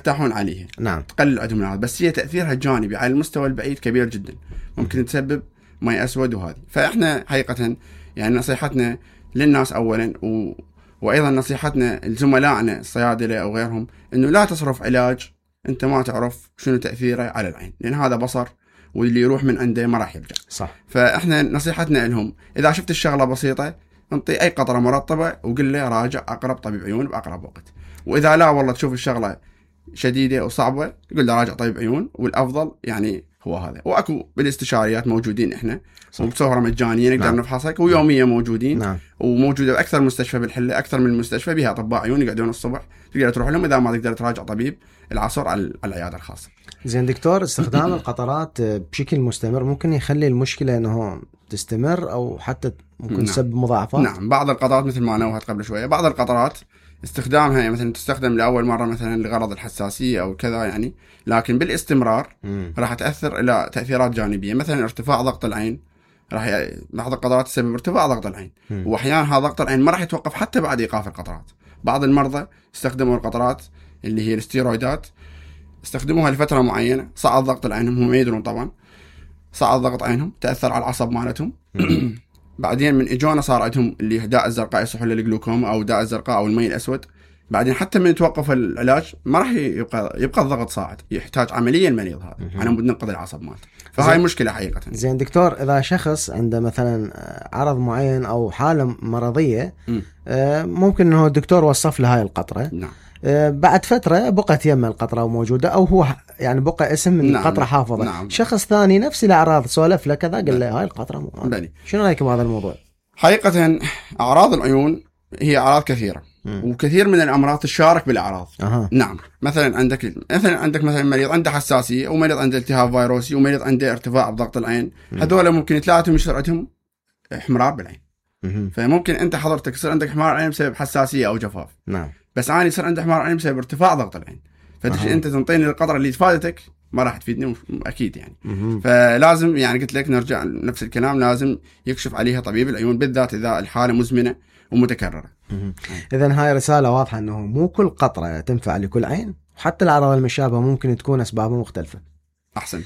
يرتاحون عليها. نعم. تقلل عندهم هذا، بس هي تأثيرها الجانبي على المستوى البعيد كبير جدا، ممكن تسبب ماء أسود وهذه. فإحنا حقيقة يعني نصيحتنا للناس أولا وأيضا نصيحتنا لزملائنا الصيادلة أو غيرهم إنه لا تصرف علاج أنت ما تعرف شنو تأثيره على العين، لأن هذا بصر واللي يروح من عنده ما راح يرجع. صح. فإحنا نصيحتنا لهم إذا شفت الشغلة بسيطة انطي أي قطرة مرطبة وقل له راجع أقرب طبيب عيون بأقرب وقت. وإذا لا والله تشوف الشغلة شديدة وصعبة قل له راجع طبيب عيون، والأفضل يعني هو هذا. وأكو بالاستشاريات موجودين إحنا وبصورة مجانية نقدر نعم. نفحصك، ويوميا موجودين. نعم. وموجودة بأكثر مستشفى بالحلة، أكثر من المستشفى بها أطباء عيون يقعدون الصبح تقدر تروح لهم، إذا ما تقدر تراجع طبيب العصر على العيادة الخاصة. زين دكتور، استخدام القطرات بشكل مستمر ممكن يخلي المشكلة أنه تستمر أو حتى ممكن تسبب مضاعفات؟ نعم، بعض القطرات مثل ما نوهت قبل شوية، بعض القطرات استخدامها مثلا تستخدم لأول مرة مثلا لغرض الحساسية أو كذا يعني، لكن بالاستمرار راح تأثر إلى تأثيرات جانبية، مثلا ارتفاع ضغط العين. بعض القطرات تسبب ارتفاع ضغط العين، وأحيانا هذا ضغط العين ما راح يتوقف حتى بعد إيقاف القطرات. بعض المرضى استخدموا القطرات اللي هي الستيرويدات، استخدموها لفترة معينة، صعد ضغط العين، هم ما يدرون طبعا، صعد ضغط عينهم، تأثر على العصب مالتهم. بعدين من إجونا صار عندهم اللي داء الزرقاء يصحوا للجلوكوما أو داء الزرقاء أو المي الأسود. بعدين حتى من يتوقف العلاج ما راح يبقى الضغط صاعد، يحتاج عملية المريض هذا على مود ننقذ العصب مالته. فهاي مشكلة حقيقة. زين دكتور، إذا شخص عنده مثلا عرض معين أو حالة مرضية ممكن إنه الدكتور وصف له هاي القطرة. نعم. بعد فترة بقت يم القطرة موجودة أو هو يعني بقى اسم من نعم. القطرة حافظة. نعم. شخص ثاني نفس الأعراض سولف له كذا قال له هاي القطرة شنو رأيك بهذا الموضوع؟ حقيقة أعراض العيون هي أعراض كثيرة وكثير من الأمراض تشارك بالأعراض. نعم. مثلا عندك مثلا مريض عنده حساسية، ومريض عنده التهاب فيروسي، ومريض عنده ارتفاع بضغط العين. هذول ممكن ثلاثهم يصير عندهم احمرار بالعين. فممكن أنت حضرتك يصير عندك احمرار عين بسبب حساسية أو جفاف. نعم. بس أنا يصير عندي احمرار عين بسبب ارتفاع ضغط العين. فتجي أنت تنطيني القطرة اللي تفادتك ما راح تفيدني أكيد يعني. فلازم يعني قلت لك نرجع نفس الكلام، لازم يكشف عليها طبيب العيون، بالذات إذا الحالة مزمنة ومتكررة. إذن هاي رسالة واضحة أنه مو كل قطرة تنفع لكل عين، حتى الأعراض المشابهة ممكن تكون أسبابها مختلفة. أحسنت.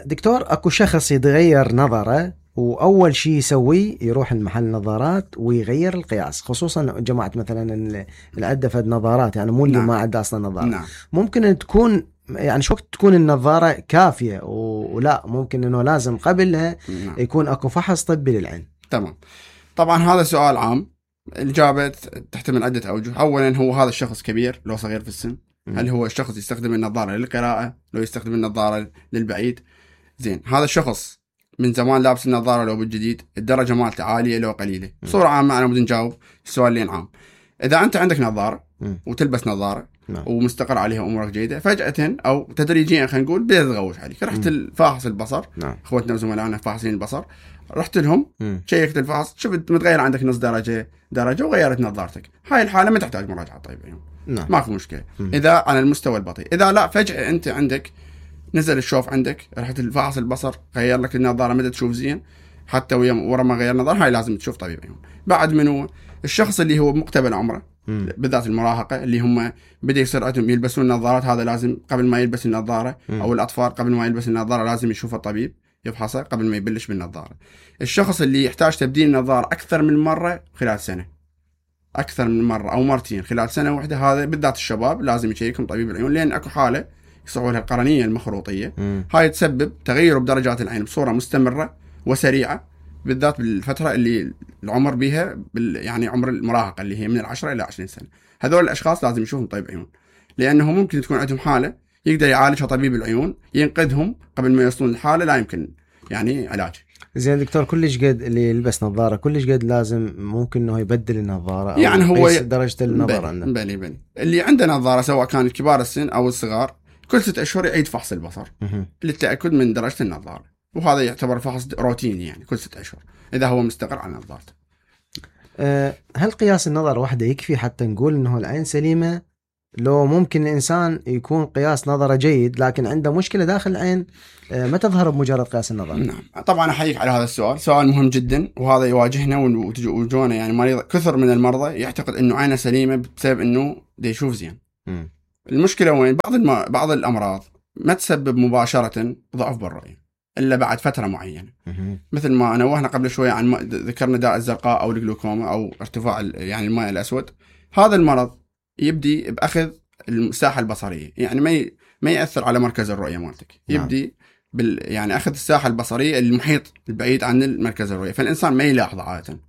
دكتور، أكو شخص يتغير نظره وأول شيء يسويه يروح المحل نظارات ويغير القياس، خصوصا جماعة مثلا اللي عنده فد نظارات يعني مو اللي ما عنده أصلا نظارة. نعم. ممكن أن تكون يعني شو وقت تكون النظارة كافية ولا ممكن أنه لازم قبلها يكون أكو فحص طبي للعين؟ تمام. طبعا هذا سؤال عام، الإجابة تحتمل عدة أوجه. أولا، هو هذا الشخص كبير لو صغير في السن؟ هل هو الشخص يستخدم النظارة للقراءة لو يستخدم النظارة للبعيد؟ زين، هذا الشخص من زمان لابس النظارة لو بالجديد، الدرجة مالته عالية لو قليلة؟ بصورة عامة أنا بدي نجاوب السؤالين عام. إذا أنت عندك نظارة وتلبس نظارة ومستقر عليها أمورك جيدة، فجأة أو تدريجيا خلينا نقول بدأت تغوش عليك، رحت الفاحص البصر. أخوتنا وزملائنا فاحصين البصر، رحت لهم شيكت الفحص، شفت متغير عندك نص درجة وغيرت نظارتك. هاي الحالة ما تحتاج مراجعة طبيب عيون. ماكو مشكلة إذا على المستوى البطيء. إذا لا، فجأة أنت عندك نزل الشوف عندك، رحت الفحص البصر غير لك النظارة، مدى تشوف زين حتى ورا ما غير نظارة، هاي لازم تشوف طبيب عيون. بعد منه الشخص اللي هو مقتبل عمره، بالذات المراهقة اللي هم بدأ يصير عندهم يلبسون نظارات، هذا لازم قبل ما يلبس النظارة، أو الأطفال قبل ما يلبس النظارة لازم يشوف الطبيب يفحصه قبل ما يبلش بالنظارة. الشخص اللي يحتاج تبديل النظارة أكثر من مرة خلال سنة، أكثر من مرة أو مرتين خلال سنة واحدة، هذا بالذات الشباب لازم يشيكهم طبيب العيون، لأن أكو حالة يصعوا لها القرنية المخروطية. هاي تسبب تغير بدرجات العين بصورة مستمرة وسريعة، بالذات بالفترة اللي العمر بيها يعني عمر المراهقة اللي هي من 10 إلى 20 سنة. هذول الأشخاص لازم يشوفهم طبيب عيون، لأنه ممكن تكون عندهم حالة يقدر يعالجها طبيب العيون، ينقذهم قبل ما يوصلون الحالة لا يمكن يعني علاج. زين دكتور، كلش قد اللي يلبس نظارة كلش قد لازم ممكن إنه يبدل النظارة، يعني أو هو درجة النظر عنده؟ بني اللي عنده نظارة سواء كان كبار السن أو الصغار، كل 6 أشهر يعيد فحص البصر للتأكد من درجة النظارة، وهذا يعتبر فحص روتيني يعني كل 6 أشهر إذا هو مستقر على نظارته. هل قياس النظر وحده يكفي حتى نقول إنه العين سليمة؟ لو ممكن الإنسان يكون قياس نظره جيد لكن عنده مشكلة داخل العين ما تظهر بمجرد قياس النظر؟ نعم، طبعا أحييك على هذا السؤال، سؤال مهم جدا، وهذا يواجهنا وجونا يعني مريض كثر من المرضى يعتقد إنه عينه سليمة بسبب إنه دا يشوف زين. المشكله وين؟ بعض الامراض ما تسبب مباشره ضعف بالرؤيه الا بعد فتره معينه. مثل ما نوهنا قبل شويه عن ذكرنا داء الزرقاء او الجلوكوما او ارتفاع يعني الماء الاسود. هذا المرض يبدي باخذ الساحه البصريه، يعني ما ياثر على مركز الرؤيه مالتك، يبدي يعني اخذ الساحه البصريه المحيط البعيد عن المركز الرؤيه، فالانسان ما يلاحظه عاده.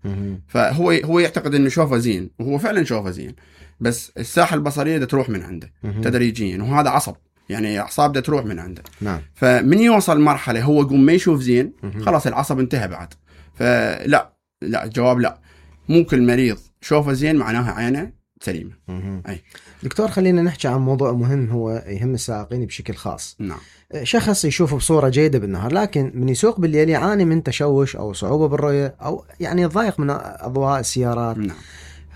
فهو يعتقد انه شوفه زين، وهو فعلا شوفه زين، بس الساحه البصريه دا تروح من عنده تدريجيا، وهذا عصب يعني اعصاب دا تروح من عنده. نعم. فمن يوصل مرحله هو يقوم ما يشوف زين، خلاص العصب انتهى بعد. فلا الجواب لا، مو كل مريض شوفه زين معناها عينه سليمه. اي دكتور، خلينا نحكي عن موضوع مهم هو يهم السائقين بشكل خاص. نعم. شخص يشوف بصورة جيدة بالنهار، لكن من يسوق بالليل يعاني من تشوش أو صعوبة بالرؤية أو يعني يتضايق من أضواء السيارات. نعم.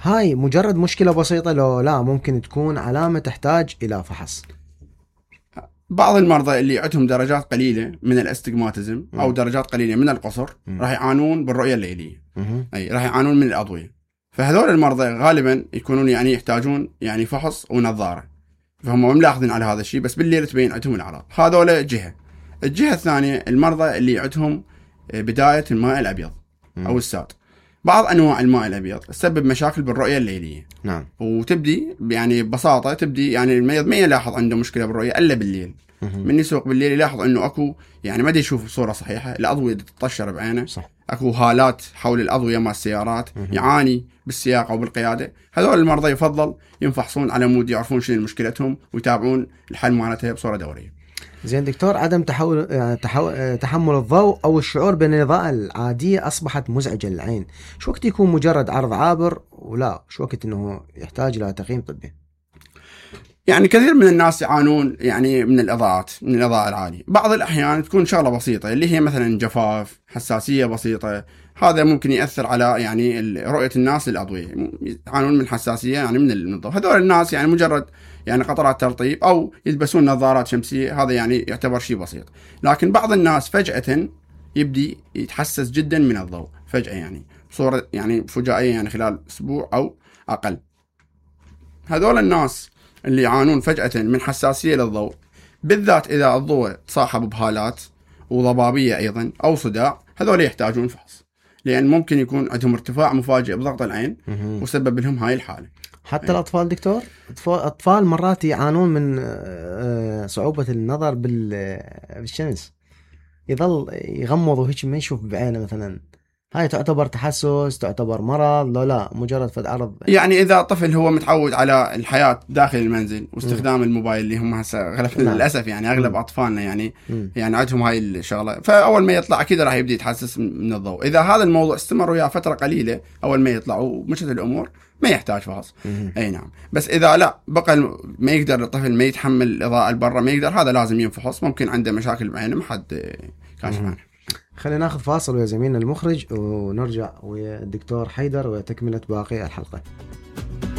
هاي مجرد مشكلة بسيطة لو لا ممكن تكون علامة تحتاج إلى فحص؟ بعض المرضى اللي عندهم درجات قليلة من الاستجماتيزم أو درجات قليلة من القصر راح يعانون بالرؤية الليلية. أي راح يعانون من الأضوية. فهذول المرضى غالبا يكونون يعني يحتاجون يعني فحص ونظارة، فهم ملاحظين على هذا الشيء، بس بالليل تبين عندهم الأعراض. هذول جهة. الجهة الثانية المرضى اللي عندهم بداية الماء الأبيض أو الساد. بعض أنواع الماء الأبيض تسبب مشاكل بالرؤية الليلية. نعم. وتبدي يعني ببساطة تبدي يعني المريض ما يلاحظ عنده مشكلة بالرؤية إلا بالليل. من يسوق بالليل يلاحظ إنه أكو يعني ما يشوف بصورة صحيحة، الأضوية تتطشر بعينه. صح. أكو هالات حول الأضوية مع السيارات، يعاني بالسياقة أو بالقيادة. هذول المرضى يفضل ينفحصون على مود يعرفون شنو مشكلتهم ويتابعون الحل مالتها بصورة دورية. زين دكتور، عدم تحمل الضوء أو الشعور بأن الإضاءة العادية أصبحت مزعجة للعين، شو وقت يكون مجرد عرض عابر ولا شو وقت إنه يحتاج إلى تقييم طبي؟ يعني كثير من الناس يعانون يعني من الإضاءات، من الإضاءة العالية. بعض الأحيان تكون شغلة بسيطة اللي هي مثلا جفاف، حساسية بسيطة، هذا ممكن يأثر على يعني رؤية الناس للأضوية، يعانون من حساسية يعني من الضوء. هذول الناس يعني مجرد يعني قطرات ترطيب أو يلبسون نظارات شمسية، هذا يعني يعتبر شيء بسيط. لكن بعض الناس فجأة يبدي يتحسس جدا من الضوء فجأة، يعني بصورة يعني فجائية، يعني خلال أسبوع أو أقل. هذول الناس اللي يعانون فجأة من حساسية للضوء، بالذات إذا الضوء تصاحب بهالات وضبابية أيضا أو صداع، هذول يحتاجون فحص، لأن ممكن يكون عندهم ارتفاع مفاجئ بضغط العين وسبب لهم هاي الحالة. حتى الأطفال دكتور، أطفال مرات يعانون من صعوبة النظر بالشمس، يظل يغمض وهيك ما يشوف بعينه مثلا، هاي تعتبر تحسس، تعتبر مرض؟ لا مجرد فد عرض؟ يعني إذا طفل هو متعود على الحياة داخل المنزل واستخدام الموبايل اللي هم هسه للأسف يعني أغلب أطفالنا يعني عندهم هاي الشغلة، فأول ما يطلع أكيد راح يبدي يتحسس من الضوء. إذا هذا الموضوع استمر وياه فترة قليلة أول ما يطلع ومشت الأمور ما يحتاج فحص. أي نعم. بس إذا لا بقى ما يقدر الطفل، ما يتحمل الإضاءة البرة، ما يقدر، هذا لازم ينفحص، ممكن عنده مشاكل بعينه ما حد كاشف عنها. خلينا ناخذ فاصل ويا زميلنا المخرج ونرجع ويا الدكتور حيدر وتكملة باقي الحلقة.